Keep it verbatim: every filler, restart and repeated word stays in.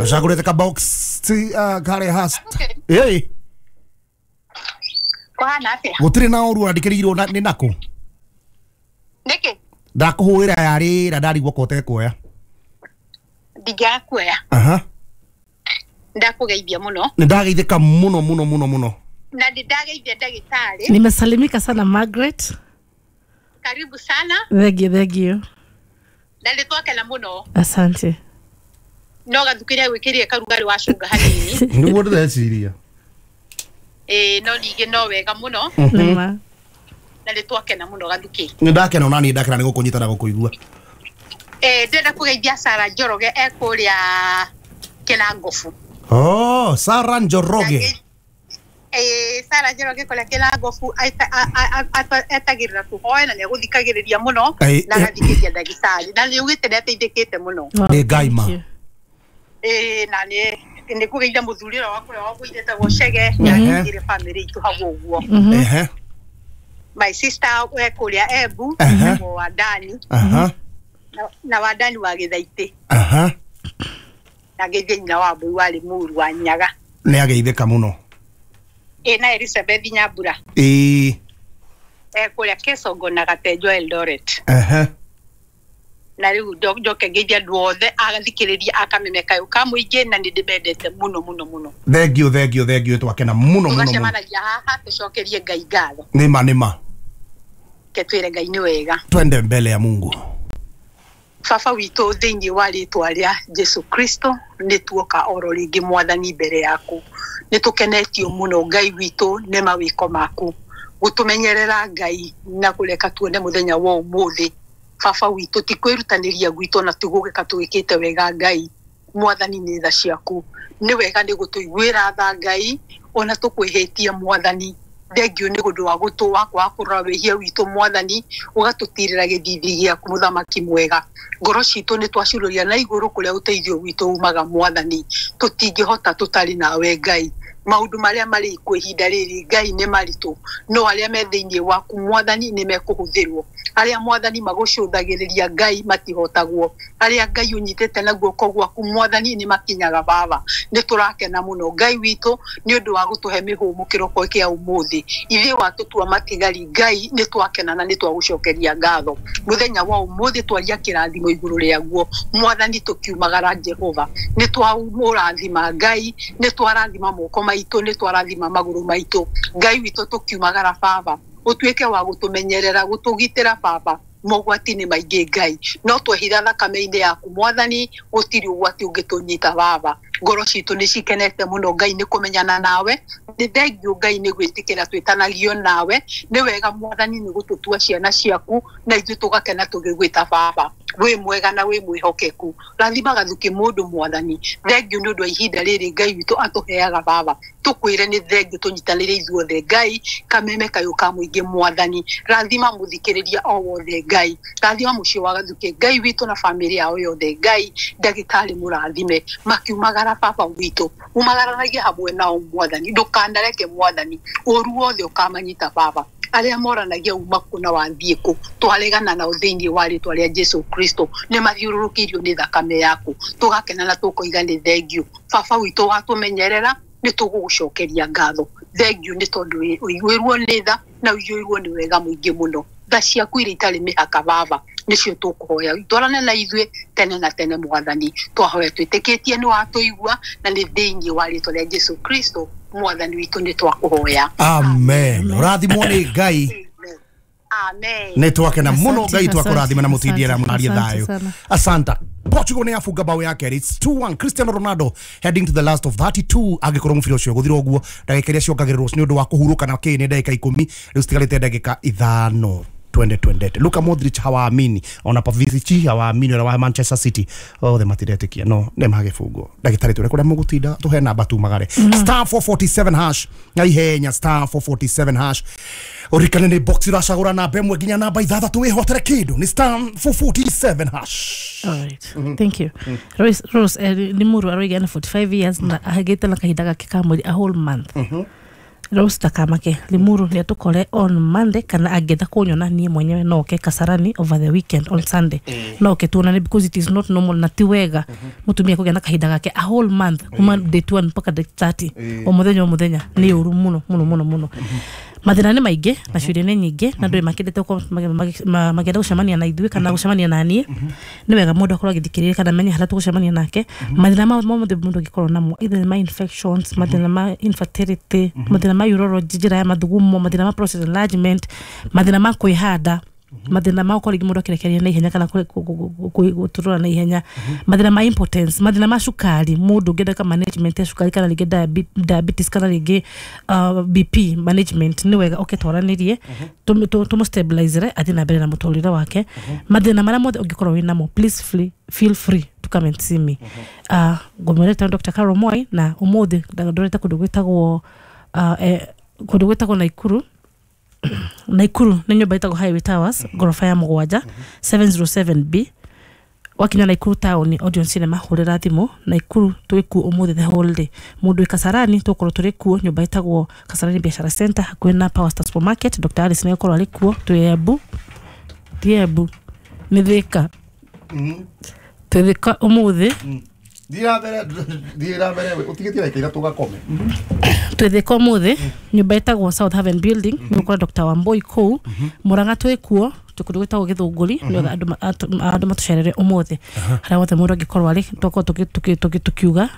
Ũcagũrĩte ka box ti uh, karĩa has ĩĩ. Kũhana atĩa? Gũtirĩ na ũru wandĩkĩrĩirwo na- nĩ nakũ? Nĩkĩ? Ndakũhũrĩra yarĩra ndarigwo ko ũtekuoya. Ndingĩaga kuoya. Aha. Ndakũgeithia mũno. Nĩ ndageithĩka mũno mũno mũno mũno. Na nĩ ndageithia ndagĩtarĩ. Nimesalimika sana, Margaret. Karibu sana. Thank you, thank you. Na nĩ twakena mũno. Asante. No gathukĩria gwĩkĩrire karugarĩ wa cunga hanini. Nĩguo ndĩreciria. Ĩĩ, no ningĩ no wega mũno. Nĩma. Na nĩ twakena mũno, Gathukĩ. Nĩ ndakena ona niĩ ndakena nĩ gũkũnyita na gũkũigua. Eh, ndĩrenda kũgeithia Sara Njoroge e kũrĩa Kĩnangobu. Oh, Sara Njoroge. Eh, Sara Njoroge kũrĩa Kĩnangobu etagĩrĩra tũhoe na nĩ agũthikagĩrĩria mũno Ĩ, na eh. agathikĩria ndagĩtarĩ na nĩ augĩte nĩ ateithĩkĩte mũno. Wow, Nĩ Ngai ma. thank you. Ĩĩ, na nĩ nĩ kũgeithia mũthuri ũrĩa wakwa ũrĩa wagũire etagwo Chege, Mhm. nĩ bamĩrĩ itũ hau ũguo. Ehe. My sister e kũrĩa Embu, Aha. etagwo Wandani. Aha. na- na Wandani wa Gĩthaitĩ. Aha. Na ngeithie nyina wa Mbũi warĩ Mũru wa Nyaga. Nĩ ageithĩka mũno. Ĩ, na Elizabeth Nyambura Ĩĩ. e kũrĩa Kesongo na Gatenjo Eldoret. Ehe. Na rĩu ndo- njoke ngeithie andũ othe agathikĩrĩria akameme kayũ ka mũingĩ na nĩ ndĩmendete mũno mũno mũno. Thank you, thank you, thank you. Twakena mũno mũno mũno. Tũgacemanagia haha tũcokerie Ngai ngatho. Nĩma nĩma. Ke twĩre Ngai nĩ wega. Twende mbele ya Mungu. Baba witũ, thĩinĩ wa rĩtwa rĩa Jesu Kristo, nĩ tuoka oro rĩngĩ, Mwathani, mbere yaku. Nĩ tũkenetio mũno, Ngai witũ, nĩ mawĩko maku gũtũmenyerera, Ngai, na kũreka tuone mũthenya wa ũmũthĩ. Baba witũ, ti kwĩrutanĩria gwitũ na ti gũgĩka tũgĩkĩte wega, Ngai Mwathani, nĩ tha ciaku. Nĩ wega nĩ gũtũiguĩra tha, Ngai, ona tũkwĩhĩtie. Mwathani, thengio nĩ ũndũ wa gũtũ wakwa wa kũrora wĩhia witũ, Mwathani, ũgatũtirĩra gĩthithi gĩaku. Mũthamaki mwega, ngoro citũ nĩ twacururia na igũrũ kũrĩa ũteithio witũ umaga. Mwathani, tũtingĩhota tũtarĩ nawe, Ngai. Maũndũ marĩa marĩ kuo ihinda rĩrĩ, Ngai, nĩ maritũ, no arĩa me thĩinĩ waku, Mwathani, nĩ mekũhũthĩrwo. Arĩa, Mwathani, magũcũthagĩrĩria, Ngai, matihotagwo. Arĩa, Ngai, ũnyitĩte na guoko gwaku, Mwathani, nĩ makinyaga. Baba, nĩ tũrakena mũno, Ngai witũ, nĩ ũndũ wa gũtũhe mĩhũmũ kĩroko kĩa ũmũthĩ. Ithuĩ watũtua matigari, Ngai, nĩ twakena na nĩ twagũcokeria ngatho. Mũthenya wa ũmũthĩ twaria kĩrathimo igũrũ rĩaguo, Mwathani. Tũkiumagara, Jehova, nĩ twamũrathima, Ngai, nĩ twarathima moko maitũ, nĩ twarathima magũrũ maitũ, Ngai witũ. Tũkiumagara, Baba, ũtuĩke wa gũtũmenyerera, gũtũgitĩra. Baba, mogwati nĩ maingĩ, Ngai, no twehitha thakame-inĩ yaku, Mwathani, gũtirĩ ũgwati ũngĩtũnyita. Baba, ngoro citũ nĩ cikenete mũno, Ngai, nĩ kũmenyana nawe. Nĩ thengio, Ngai, nĩ gwĩtĩkĩra twĩtanagio nawe. Nĩ wega, Mwathani, nĩ gũtũtua ciana ciaku na ithuĩ tũgakena tũgĩgwĩta Baba. Wĩ mwega na wĩ mwĩhokeku. Rathima Gathuki mũndũ, Mwathani. Thengio nĩ ũndũ wa ihinda rĩrĩ Ngai witũ atũheaga. Baba, tũkwĩre nĩ thengio. Tũnyitanĩre ithuothe, Ngai, kameme kayũ ka mũingĩ. Mwathani, rathima mũthikĩrĩria o wothe. Ngai, rathima mũciĩ wa Gathuki, Ngai witũ, na bamĩrĩ yao yothe. Ngai, ndagĩtarĩ mũrathime makiumagara. Baba witũ, umagaranagie hamwe nao, Mwathani. Ndũkanareke, Mwathani, ũru wothe ũkamanyita. Baba, arĩa moranagia uma kũ na wathiĩ kũ, twaregana nao thĩinĩ wa rĩtwa rĩa Jesu Kristo. Nĩ mathiũrũrũkĩirio nĩ thakame yaku. Tũgakena na tũkoiga nĩ thengio. Baba witũ, watũmenyerera, nĩ tũgũgũcokeria ngatho. Thengio nĩ tondũ ũiguĩrwo nĩ tha na ũiyũirwo nĩ wega mũingĩ mũno. Tha ciaku iria itarĩ mĩhaka, Baba, nĩcio tũkũhoya itwarane na ithuĩ tene na tene. Mwathani, twahoya twĩtĩkĩtie nĩ watũigua, na nĩ thĩinĩ wa rĩtwa rĩa Jesu Kristo Mwathani witũ nĩ twakũhoya. Amen. Ũrathimwo nĩ Ngai. Amen. Nĩ twakena mũno. Asante, Ngai twakũrathima na asante, mũtindie na mũnarie asante thayũ. sana. Asanta. Portugal nĩ yafunga bao ya kerĩ. It's two one. Cristiano Ronaldo heading to the last of thirty-two. Angĩkorwo mũbira ũcio gũthira ũguo, ndagĩka iria ciongagĩrĩrwo nĩ ũndũ wa kũhurũka na kĩ nĩ ndagĩka ikũmi. Rĩu citigarĩte ndagĩka ithano. Twende twendete. Luka Modric hawaamini, ona Pavicic hawaamini, ona wa Manchester City othe matiretĩkia no nĩ magĩbungwo. Ndagĩtarĩ, twĩre kũrĩa mũgũtinda, tũhe namba tumagare. Star four forty-seven hash na ihenya, star four forty-seven hash. Ũririkane nĩ box ũracagũra namba ĩmwe nginya namba ithathatũ wĩhotere kĩndũ. Nĩ star four forty-seven hash. All right. Thank you. Rose, Rose eh, nĩ mũrũ aroiga na forty-five years na ahagĩte na kahinda gake ka mweri a whole month. Rose takamake Limuru nĩ atũkore on Monday, kana angĩenda kũnyona niĩ mwenyewe no oke Kasarani over the weekend on Sunday, no oke tuonane, because it is not normal na ti wega mũtumia kũgĩa na kahinda gake a whole month, kuma date one mpaka date thirty, o mũthenya o mũthenya. Nĩ ũru mũno mũno mũno mũno. Mathĩna nĩ maingĩ na ciũria nĩ nyingĩ, na andũ makĩendete gũkorwo magi- magi- ma- makĩenda gũcemania na ithuĩ kana gũcemania na niĩ. Nĩ wega mũndũ akorwo agĩthikĩrĩria kana amenye harĩa tũgũcemania nake. Mathĩna ma mothe mũndũ angĩkorwo namo, either nĩ ma infections, mathĩna ma infertility, mathĩna ma urology, njĩra ya mathugumo, mathĩna ma prostate enlargement, mathĩna ma kwĩhanda, mathĩna ma gũkorwo rĩngĩ mũndũ akĩrekereria na ihenya kana kũ- kũ- kũ- kũ- gũtũrũra na ihenya, mathĩna ma impotence, mathĩna ma cukari, mũndũ ũngĩenda ka management ya cukari kana rĩngĩ diabe- diabetes kana rĩngĩ uh, B P management, nĩ wega oke twaranĩrie, tũmũ stabilizere athiĩ na mbere na mũtũrĩre wake. Mathĩna marĩa mothe ũngĩkorwo wĩ namo, please free, feel free to come and see me. uh, ngũmwĩrĩte Doctor Carol Moi, na ũmũthĩ ndorete kũndũ gwĩtagwo uh, eh, kũndũ gwĩtagwo Naikuru. Naikuru nĩ nyũmba ĩtagwo Highway Towers, ngoroba ya mũgwanja, seven zero seven B. Wakinya Naikuru town, Odeon Cinema, hũrĩra thimũ. Naikuru twĩ kuo ũmũthĩ the whole day. Mũndũ wĩ Kasarani, tũgũkorwo tũrĩ kuo nyũmba ĩtagwo Kasarani Biashara Center, hakuhĩ na Power Star Supermarket. Doctor Alice nĩ egũkorwo arĩ kuo. Twĩ Embu, ti Embu, nĩ Thĩka, twĩ Thĩka ũmũthĩ. Thiĩ na mbere, thiĩ na mbere, ũtigĩtie ndagĩka ithatũ ũgakome. Twĩ Thĩka ũmũthĩ, nyũmba ĩtagwo South Haven Building, nĩ gũkora Doctor Wambui kũu. Mũrang'a twĩ kuo, twĩ kũndũ gwĩtagwo Gĩthũngũri. Nĩ wega andũ ma- atũ- andũ matũcerere ũmũthĩ harĩa wothe mũndũ angĩkorwo arĩ, tũkorwo tũki- tũki- tũki- tũkiuga.